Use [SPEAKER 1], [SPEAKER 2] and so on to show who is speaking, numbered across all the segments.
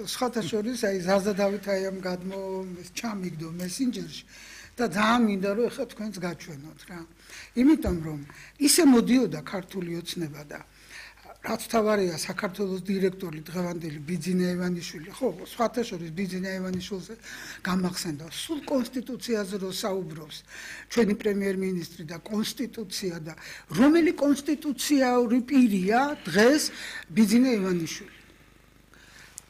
[SPEAKER 1] სხვათა შორის აი ზაზა დავითაი ამ გადმო ჩამიგდო მესენჯერში და ძალიან მინდა რომ ეხლა თქვენს გაჩვენოთ რა. იმიტომ რომ ისე მოდიოდა ქართული ოცნება და რაც თავარია საქართველოს დირექტორი დღევანდელი ბიძინა ივანიშვილი, ხო, სხვათა შორის ბიძინა ივანიშვილზე გამახსენდა სულ კონსტიტუციაზე რო საუბრობს ჩვენი პრემიერ-მინისტრი და კონსტიტუცია და რომელი კონსტიტუციური პირია დღეს ბიძინა ივანიშვილი.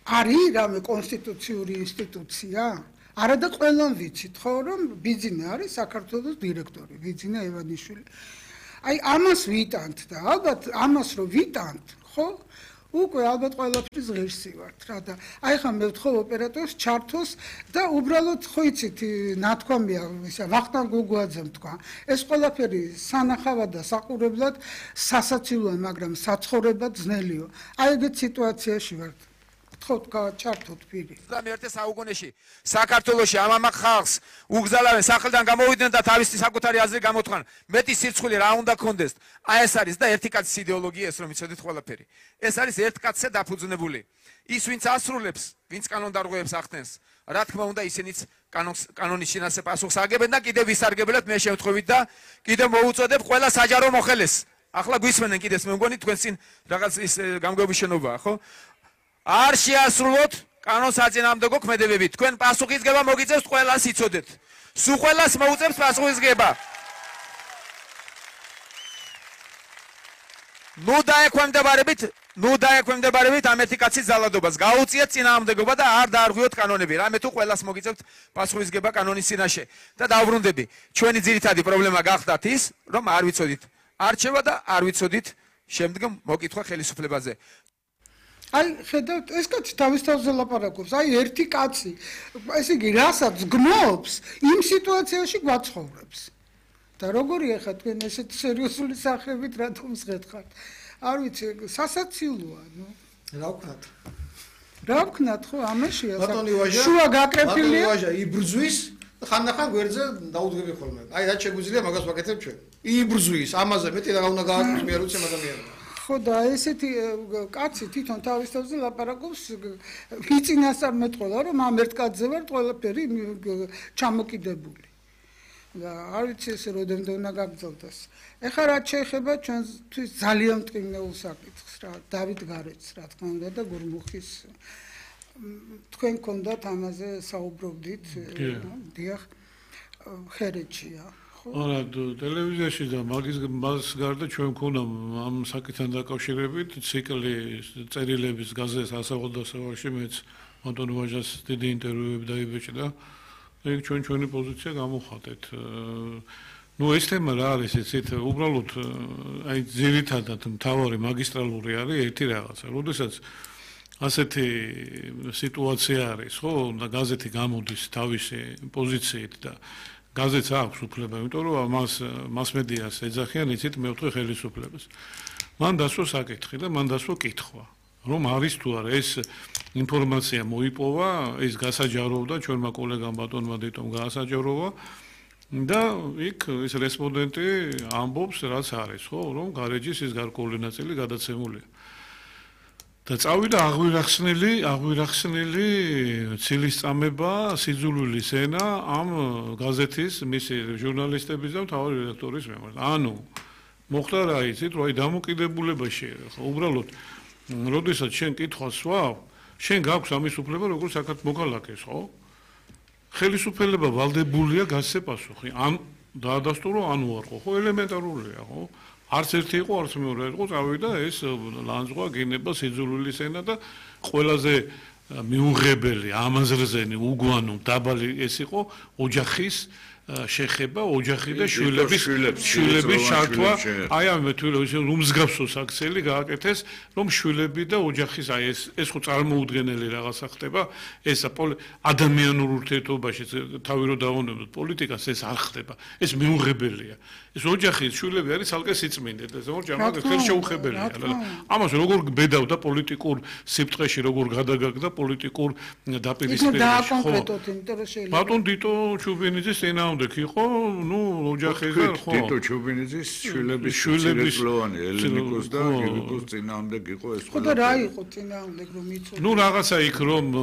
[SPEAKER 1] არის რამე კონსტიტუციური ინსტიტუცია? არა და ყველამ ვიცით ხო რომ ბიძინა არის საქართველოს დირექტორი, ბიძინა ივანიშვილი. აი ამას ვიტანთ და ალბათ ამას რო ვიტანთ, ხო? უკვე ალბათ ყველაფრის ღირსი ვართ რა და აი ხა მე ვთხოვ ოპერატორს ჩართოს და უბრალოდ ხო იცით ნათქვამია ისა ვახტანგ გუგუაძემ თქვა ეს ყველაფერი სანახავად და საყურებლად სასაცილოა მაგრამ საცხოვრებლად ძნელიო. აი ეგეთ სიტუაციაში ვართ. ჩართოთ პირი.
[SPEAKER 2] 21 საუკუნეში საქართველოში ამ ხალხს უგზალავენ სახელიდან გამოვიდნენ და თავისი საკუთარი აზრი გამოთქვან. მეტი სირცხული რა უნდა კონდეს. აი ეს არის და ერთი კაცის იდეოლოგია ეს რომ იცოდეთ ყველაფერი. ეს არის ერთ კაცზე დაფუძნებული. ის ვინც ასრულებს, ვინც კანონდარღვევებს ახდენს, რა თქმა უნდა ისინიც კანონის შინაარსზე პასუხს აგებენ და კიდევ ვისარგებლეთ მე შემთხვევით და კიდევ მოუწოდებ ყველა საჯარო მოხელეს. ახლა გვისმენენ კიდეს მე მგონი თქვენ წინ რაღაც ის გამგეობის შენობაა, ხო? არ შეასრულოთ კანონს აწინააღმდეგო ქმედებებით. თქვენ პასუხისგება მოგიწევთ ყველას იცოდეთ. სულ ყველას მოუწევს პასუხისგება. ნუ დაექვემდებარებით ამ ერთი კაცის ძალადობას. გაუწიეთ წინააღმდეგობა და არ დაარღვიოთ კანონები. რამე თუ ყველას მოგიწევთ პასუხისგება კანონის წინაშე. და დავბრუნდები. ჩვენი ძირითადი პრობლემა გახდათ ის, რომ არ ვიცოდით არჩევა და არ ვიცოდით შემდგომ მოკითხვა ხელისუფლებაზე.
[SPEAKER 1] აი ხედავთ ეს კაცი თავის თავზე ლაპარაკობს აი ერთი კაცი ესე იგი რასაც გნობს იმ სიტუაციაში გვაცხოვრებს და როგორია ხა თქვენ ესეთ სერიოზული სახებით რატომ ზღეთხართ არ ვიცი სასაცილოა ნუ რა ვქნათ ხო ამაშია შუა გაკრეფილია
[SPEAKER 3] ვაჟა იბრძვის ხანდახან გვერდზე დაუდგები ხოლმე აი რაც შეგვიძლია მაგას ვაკეთებ ჩვენ იბრძვის ამაზე მეტი რა უნდა გააკეთოს მე არ ვიცი ადამიანს
[SPEAKER 1] ხო და ესეთი კაცი თვითონ თავის თავზე ლაპარაკობს ვიწინასწარმეთ ყველა რომ ამ ერთ კაცზე ვარ ყველაფერი ჩამოკიდებული და არ ვიცი ესე როდემდე უნდა გაგრძელდეს. ეხლა რაც შეეხება ჩვენთვის ძალიან მტკივნეულ საკითხს რა დავით გარეცს რა თქმა უნდა და გურმუხის თქვენ გქონდათ ამაზე საუბრობდით დიახ ხერეთშია
[SPEAKER 4] არა ტელევიზიაში და მას გარდა ჩვენ გქონდა ამ საკითხთან დაკავშირებით ციკლი წერილების გაზეთს ასაღოდასავაში მეც ანტონ ვაჟას დიდი ინტერვიუები დაიბეჭდა ეგ ჩვენი პოზიცია გამოვხატეთ ნუ ეს თემა რა არის იცით უბრალოდ აი ძირითადად მთავარი მაგისტრალური არის ერთი რაღაცა როდესაც ასეთი სიტუაცია არის ხო და გაზეთი გამოდის თავისი პოზიციით და გაზეთს აქვს უფლება, იმიტომ რომ მას მედიას ეძახიან იცით მეოთხე ხელისუფლებას. მან დასვა საკითხი და მან დასვა კითხვა, რომ არის თუ არა ეს ინფორმაცია მოიპოვა, ეს გასაჯაროვდა ჩვენმა კოლეგამ ბატონმა დიტომ გაასაჯაროვა და იქ ეს რესპონდენტი ამბობს რაც არის, ხო, რომ გარეჯის ის გარკვეული ნაწილი გადაცემულია. და წავიდა აღვირახსნილი ცილისწამება სიძულვილის ენა ამ გაზეთის მისი ჟურნალისტების და მთავარი რედაქტორის მიმართ. ანუ მოხდა რა იცით, რომ აი დამოკიდებულებაში ხო უბრალოდ როდესაც შენ კითხვას ვაv, შენ გაქვს ამის უფლება როგორც საქართველოს მოქალაქეს, ხო? ხელისუფლება ვალდებულია გასცე პასუხი. ან დაადასტურო ანუ არ ხო, ელემენტარულია, ხო? არც ერთი იყო, არც მეორე იყო, წავიდა ეს ლანძღვა გინება სიძულვილის ენა და ყველაზე მიუღებელი, ამაზრზენი, უგვანო, დაბალი ეს იყო ოჯახის შეხება, ოჯახი და შვილების ჩართვა. აი ამ რომ მსგავსო საქციელი გააკეთეს, რომ შვილები და ოჯახის აი ეს ხო წარმოუდგენელი რაღაცა ხდება, ეს ადამიანურ ურთიერთობაში თავი რო დავონებოთ პოლიტიკას ეს არ ხდება. ეს მიუღებელია. ეს ოჯახის შვილები არის ალკე სიწმინდე და ზოგადად ამას ხელშეუხებელია. ამას როგორ ბედავდა პოლიტიკურ სიფტყეში, როგორ გადაგაგდა პოლიტიკურ დაპირისპირებაში.
[SPEAKER 1] და კონკრეტულად ინტერესელი.
[SPEAKER 4] ბატონ დიტო ჩუბინიძის ენა წინააღმდეგ იყო, ნუ ოჯახიზარ ხო.
[SPEAKER 5] თითო ჩუბინიძის შვილების
[SPEAKER 4] შვილების
[SPEAKER 5] ლოვანი ელენიკოს და გიგიკოს წინააღმდეგ იყო ეს
[SPEAKER 1] ხო და რა იყო წინააღმდეგ რომ იცოდი?
[SPEAKER 4] ნუ რაღაცა იქ რომ